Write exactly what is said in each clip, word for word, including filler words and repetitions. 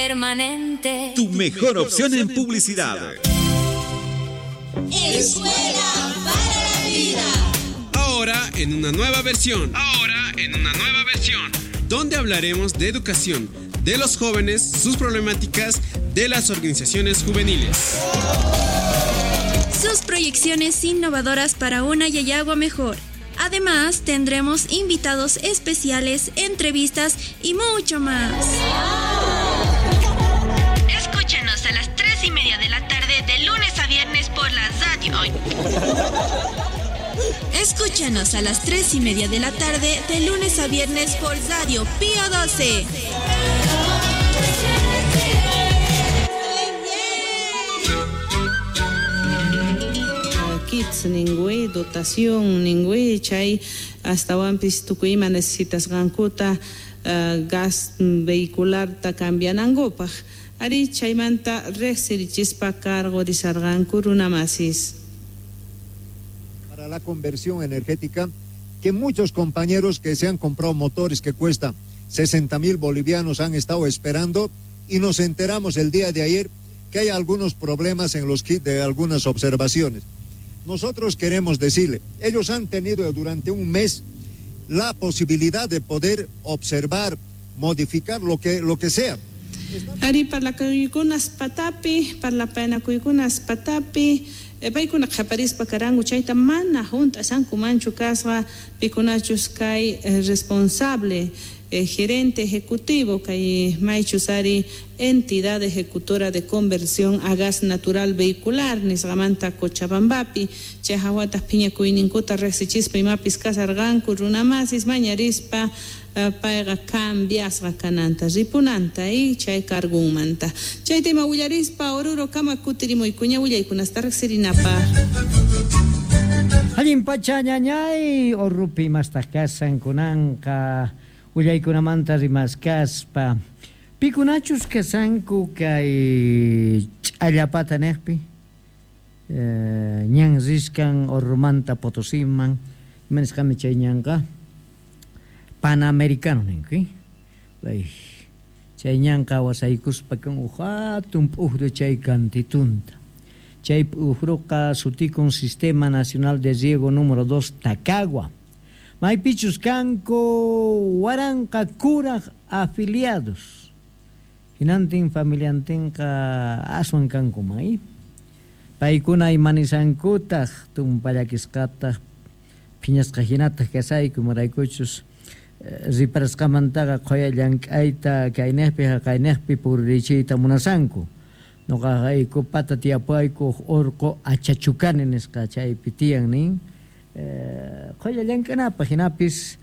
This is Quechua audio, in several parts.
Permanente. Tu mejor opción en publicidad. Escuela para la Vida. Ahora en una nueva versión. Ahora en una nueva versión. Donde hablaremos de educación, de los jóvenes, sus problemáticas, de las organizaciones juveniles. Sus proyecciones innovadoras para una Llallagua mejor. Además, tendremos invitados especiales, entrevistas y mucho más. Escúchanos a las tres y media de la tarde de lunes a viernes por la radio. Escúchanos a las tres y media de la tarde de lunes a viernes por Radio Pío doce. Kits ningui, dotación ningui, chay hasta wampis tukuyma necesitasqankuta uh, gas vehicular ta cambianankupaq. Ari chaymanta riqsirichispa cargo risarqanku runamasis. Para la conversión energética, que muchos compañeros que se han comprado motores que cuestan sesenta mil bolivianos han estado esperando, y nos enteramos el día de ayer que hay algunos problemas en los kits de algunas observaciones. Nosotros queremos decirle, ellos han tenido durante un mes la posibilidad de poder observar, modificar lo que, lo que sea. Ari parlakuykunas patapi, parlapanakuykunas patapi, paykuna qhaparispa karanku chayta mana hunt'asankumanchu kasqa pikunachus kay responsable, eh, gerente ejecutivo kay maychus ari entidad ejecutora de conversión a gas natural vehicular nisqamanta Cochabambapi chay hawataq phiñakuyninkuta riqsichispa imapis kasarqanku runamasis mañarispa uh, payqa cambiasqa kananta ripunanta y chay cargunmanta chay tema willarispa Oruro kama kutirimuykuña willaykunasta riqsirinapaq. Allin pacha ñañay Orrupi mastaq kasan kunanqa willaykunamanta rimaskaspa pikunachus kasanku kay ch'allapata niqpi eh, ñan riskan Orrumanta Potosiman ima nisqami chay ñanqa Panamericano ninku eh? Chay ñanqa wasaykuspa kan uj hatun p'uqru chay kantitunta chay p'uqruqa sutikun Sistema Nacional de Riego número dos Tacagua. Maypichus kanku waranqa kuraq afiliados. Hinantin familiantinqa aswan kanku may. Paykuna imanisankutaq tumpallakisqataq phiñasqa hinataq kasayku maraykuchus riparasqamantaqa qhuya llank'ayta kayniqpi haqayniqpi puririchiyta munasanku. Nuqaqayku pata tiyapayku urqu achachukani nisqa chaypi tiyan nin. Qhuya llank'anapaq hinapis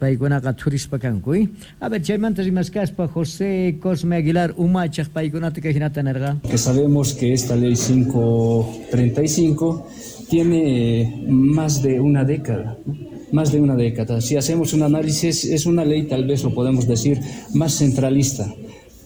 paykunaqa thurispa kanku. A ver, chaymanta rimaskaspa José Cosme Aguilar umachaq paykunata kay hinata nirqa. Que sabemos que esta ley cinco treinta y cinco tiene más de una década, más de una década. Si hacemos un análisis, es una ley, tal vez lo podemos decir, más centralista,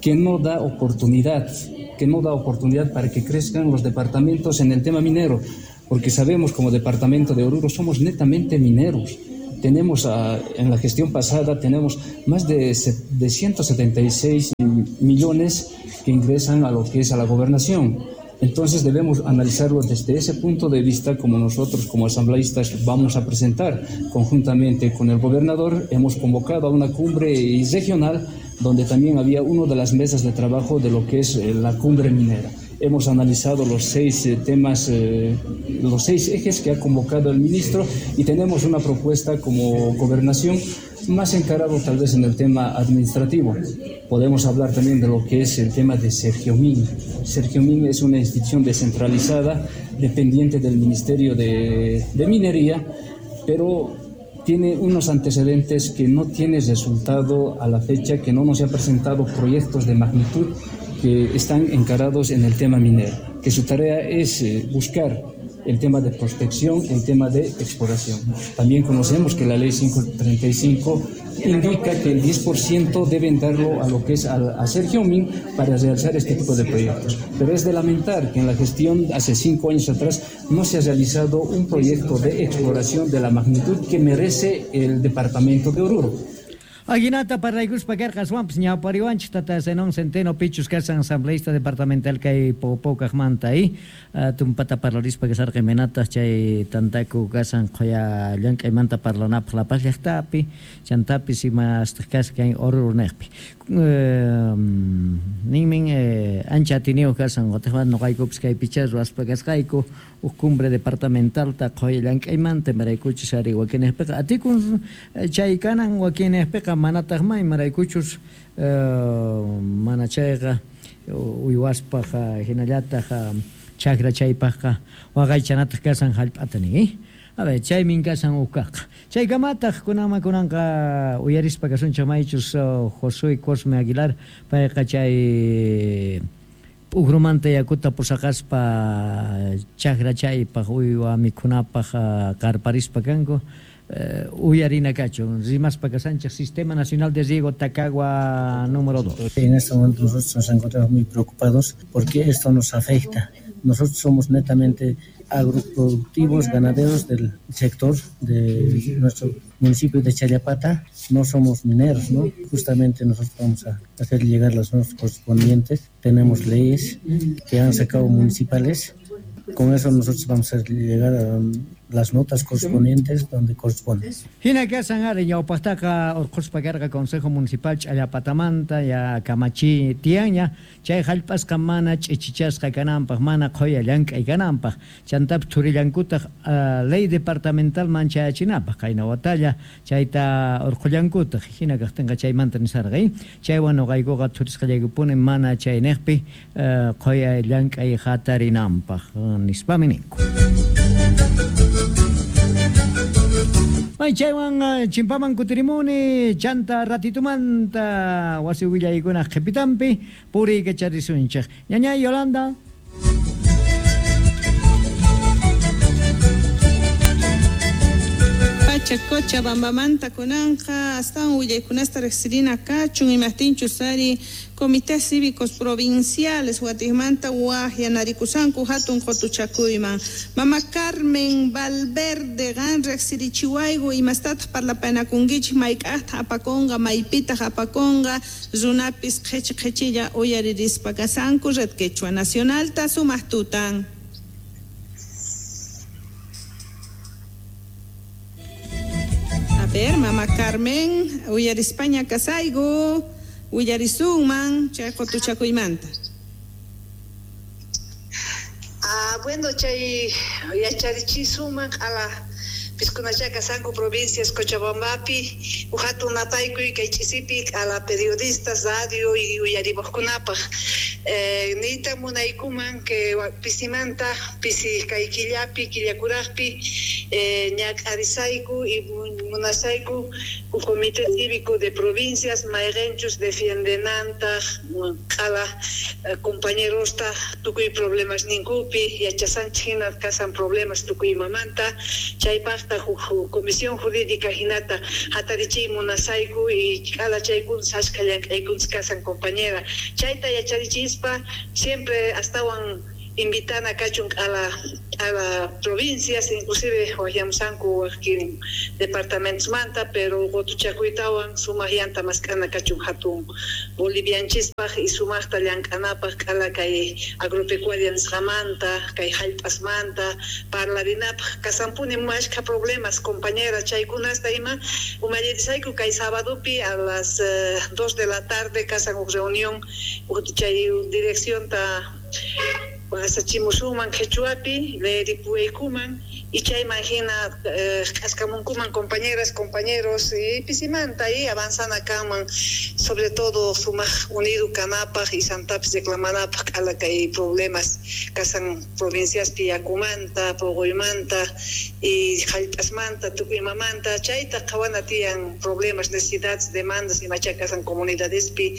que no da oportunidad, que no da oportunidad para que crezcan los departamentos en el tema minero, porque sabemos como departamento de Oruro somos netamente mineros. Tenemos, uh, en la gestión pasada, tenemos más de, de ciento setenta y seis millones que ingresan a lo que es a la gobernación. Entonces debemos analizarlo desde ese punto de vista, como nosotros como asambleístas vamos a presentar conjuntamente con el gobernador. Hemos convocado a una cumbre regional donde también había una de las mesas de trabajo de lo que es la cumbre minera. Hemos analizado los seis temas, eh, los seis ejes que ha convocado el ministro y tenemos una propuesta como gobernación más encarado tal vez en el tema administrativo. Podemos hablar también de lo que es el tema de Sergiomín. Sergiomín es una institución descentralizada, dependiente del Ministerio de, de Minería, pero tiene unos antecedentes que no tiene resultado a la fecha, que no nos ha presentado proyectos de magnitud que están encarados en el tema minero, que su tarea es buscar el tema de prospección, el tema de exploración. También conocemos que la ley cinco treinta y cinco indica que el diez por ciento deben darlo a lo que es a, a Sergiomín para realizar este tipo de proyectos. Pero es de lamentar que en la gestión hace cinco años atrás no se ha realizado un proyecto de exploración de la magnitud que merece el departamento de Oruro. Aguinata parlaykuspa karqa aswanpis ñawpariwanchik tata Zenón Centeno pichus kasan asambleísta departamental kay Popokaqmanta y tumpata parlarispa kasarqa imaynataq chay tantaku kasan qhuya llank'aymanta parlanapaq La Paz llaqtapi chantapis imastaq kasqa kay Oruro niqpi ninmin ancha atiniyuq kasan qutiqmanta nuqaykupis kaypicha ruwaspa kasqayku huk cumbre departamentalta qhuya llank'aymanta imaraykuchus ari wakinniqpiqa atikun chay kanan wakinniqpiqa manataq may imaraykuchus mana chayqa uywaspaq hinallataq chakra chaypaqqa waqaychanataq kasan hallp'ata nin. A ver, chaymin kasan uqkaqqa. Chaykamataq kunanman kunanqa uyarispa kasunchik maychus Josué Cosme Aguilar payqa chay p'ukrumanta yakuta pusaqaspa chakra chaypaq uywa mikhunapaq qarparispa kanku. Uyarina kachun, rimaspa kasanchik Sistema Nacional de Riego Tacagua número dos. En este momento nosotros nos encontramos muy preocupados porque esto nos afecta. Nosotros somos netamente agroproductivos, ganaderos del sector de nuestro municipio de Challapata, no somos mineros, ¿no? Justamente nosotros vamos a hacer llegar las normas correspondientes, tenemos leyes que han sacado municipales, con eso nosotros vamos a llegar a las notas correspondientes donde corresponden. Hina kasan ari ñawpaqtaqa urquspa karqa Consejo Municipal Ch'allapatamanta ya kamachi tiyanña chay hallp'asqa mana ch'ichichasqa kananpaq mana qhuya llank'ay kananpaq chantapis thurillankutaq ley departamental manchayachinapaq qayna watalla chayta urqullankutaq hina kaqtinqa chaymanta nisarqa chaywan nuqaykuqa thurisqallaykupuni mana chayniqpi qhuya llank'ay hatarinanpaq nispami ninku. May chaywan chimpaman kutirimuni chanta ratitumanta wasi willaykunaq qhipitampi puriykacharisunchik. Ñañay Yolanda. Pacha Cochabambamanta kunanqa astawan willaykunasta riqsirina kachun imaqtinchus ari comités cívicos provinciales watiqmanta waqyanarikusanku hatun qutuchakuyman. Mama Carmen Valverde qan riqsirichiwayku imastataq parlapanakunkichik mayk'aqtaq apakunqa maypitaq apakunqa runapis qhichi qhichilla uyaririspa kasanku Red Quechua Nacionalta sumaq tutan. A ver, Mama Carmen, uyarispaña kasayku, uyarisunman chay qutuchakuymanta. Ah, bueno, chay yacharichisuman q'ala piskunacha kasanku provincias Cochabambapi, uhatun napaykuy kay ch'isipi q'ala periodistas radio y uyarimuqkunapaq. Eh, niyta munaykuman que pisimanta pisi kay killapi killakuraqpi eh, ñak'arisayku y munasayku Comité Cívico de Provincias mayqinchus defiendenantaq q'ala compañerosta tukuy problemas ninkupi yachasanchik hina kasan problemas tukuy imamanta chaypaqta Comisión Jurídica hinata hatarichiy munasayku y q'ala chaykun sashka llank'aykun kasan compañera chayta yacharichispa siempre astawan invitana kachun a la a la provincias inclusive waqyamusanku waqkin departamentos manta pero qutuchakuytawan sumaq llanta mask'ana kachun hatun bolivianchispaq y sumaqta llank'anapaq q'ala kay agropecuaria nisqamanta kay hallp'asmanta parlarinapaq kasanpuni mashkha problemas compañera chaykunasta ima umallirisayku kay sabadopi a las eh, dos de la tarde kasan huk reunión chay direccionta asachimusunman qhichwapi leeripuwaykuman y chayman hina k'askamunkuman compañeras, compañeros y pisimanta y avanzana kanman sobre todo sumaq unido kanapaq y santapis reclamanapaq q'ala kay problemas kasan provinciaspi yakumanta, puquymanta y hallp'asmanta tukuy imamanta chayta qhawana tiyan problemas, necesidades, demandas imacha kasan comunidadespi,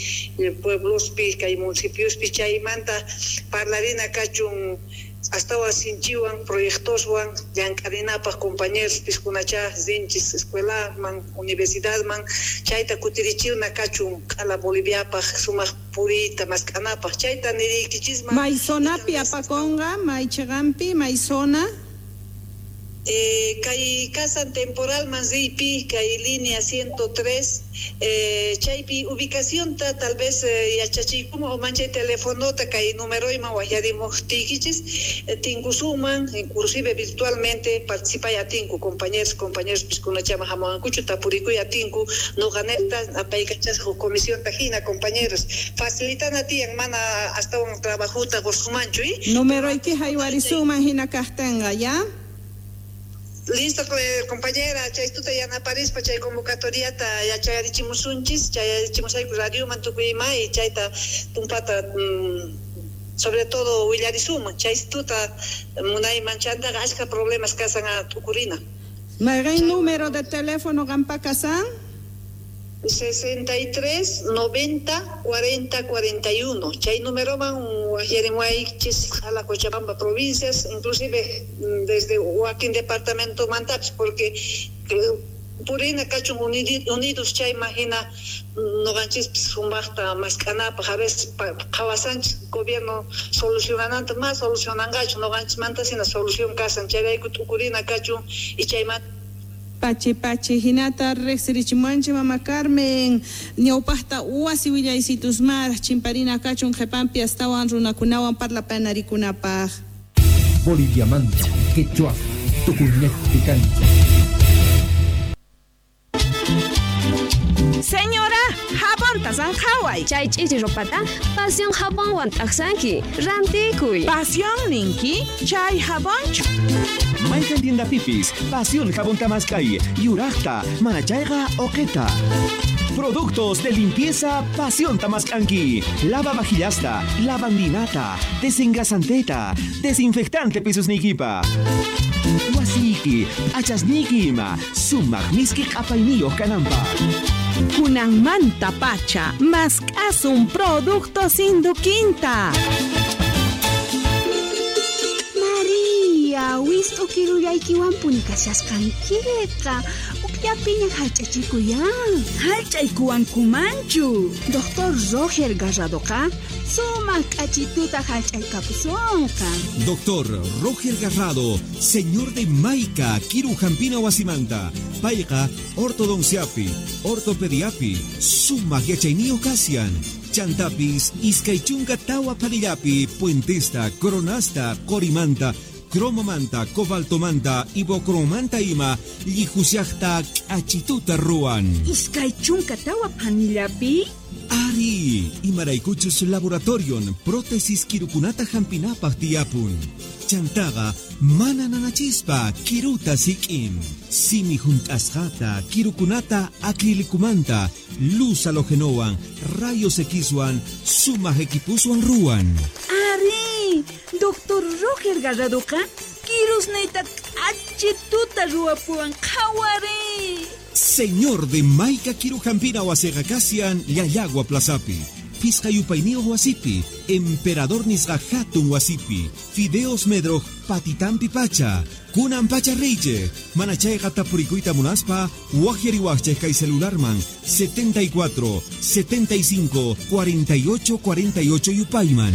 pueblospi, kay municipiospi chaymanta parlarina kachun astawan sinchiwan proyectoswan llank'arinapaq compañeros piskunacha rinchis escuelaman universidadman chayta kutirichiwna kachun q'ala Boliviapaq sumaq puriyta mask'anapaq chayta niriykichisman. May zonapi apakunqa may chiqanpi may zona. Eh, kay kasan temporal manripi kay línea ciento tres eh, chaypi ubicación ta tal vez eh, yachachiykuman o manchay telefonota kay numeroyman waqyarimuqtiykichis eh, tinkusuman inclusive virtualmente participay atinku compañeros compañeros piskunachama hamuwankuchu tapurikuy atinku noqaneta apaykachasqa huk comisión tajina compañeros facilitana tiyan mana astawan trabajuta qusumanchu y numeroyki haywarisuman hina kaqtinqa ya. Listo, compañera, chaytuta yanaparispa chay convocatoriata yachayarichimusunchis, chayarichimusayku radioman tukuyma y chayta tumpata mm, sobre todo willarisuman, chaytuta munayman chantaqa achka problemas kasan a tukurina. ¿Mayqin número de teléfono qampa kasan? sesenta y tres, noventa, cuarenta, cuarenta y uno. Chay numeroman waqyarimuwaychis a la Cochabamba provincias, inclusive desde wakin departamento mantapis, porque purina kachun unidos chayman hina noqanchispis sumaqta maskanapaq a veces qhawasanchis gobierno solucionananta más solucionanqachu noqanchismanta hina solución kasan chayrayku t'ukurina kachun y chayman Pachi pachi hinata riqsirichimuanchik mama Carmen ñawpaqta wasi willaysitusmaraq chimparina kachun qhipanpi astawan runakunawan parlapanarikunapaq. Boliviamanta, Quechua, Tukuñejpi kancha. Señora, jabonta sanqhaway. Chay ch'ichi ropata Pasión jabonwan t'aqsanki. Rantikuy. Pasión ninki, chay jabonchu. Mayqan tiendapipis, Pasión jabón tamaskay, yuraqta, manachayqa oqeta. Productos de limpieza Pasión Tamascanqui. Lava vajillasta, lavandinata, desengrasanteta, desinfectante pisusnikipa. Wasiki, achasniki ima, sumaq miski q'apayniyuq kananpaq. Kunanmanta pacha, mask'asun productos Induquinta. María, wist'u kirullaykiwanpuni kashasqankiqa. Ukllapiña hallch'achikuyan. Hallch'aykuwankumanchu. Doctor Roger Garradoqa sumaq k'achituta hallch'aykapusunqa. Doctor Roger Garrado, señor de Maica, Kiru Hampina wasimanta. Payqa ortodonciapi, ortopediapi, sumaq yachayniyuq kashan. Chantapis, iskay chunka tawa panillapi, puentesta, coronasta, qorimanta, cromomanta, cobaltomanta, ibocromanta ima, llihusiaqta k'achituta ruwan. Iskay chunka tawa panillapi? Ari, imaraykuchus laboratorion, prótesis kirukunata hampinapaq tiyapun. Chantaqa mana nanachispa kiruta sik'in. Simi hunt'asqata, kirukunata acrilicumanta, luz halogenowan, rayos Xwan, sumaq equipuswan ruwan. Ari, Doctor Roger Garradoqa kirusniyta k'achituta ruwapuwan qhawari. Señor de Maica Kiru Hampina wasiqa kashan Llallagua Plazapi. Pisqa yupayniyuq wasipi, Emperador nisqa hatun wasipi, Fideos Medroj patitampi pacha, kunan pacha riychej, mana chayqa tapurikuyta munaspa, waqyariwaqchej kay celularman setenta y cuatro, setenta y cinco, cuarenta y ocho, cuarenta y ocho yupayman.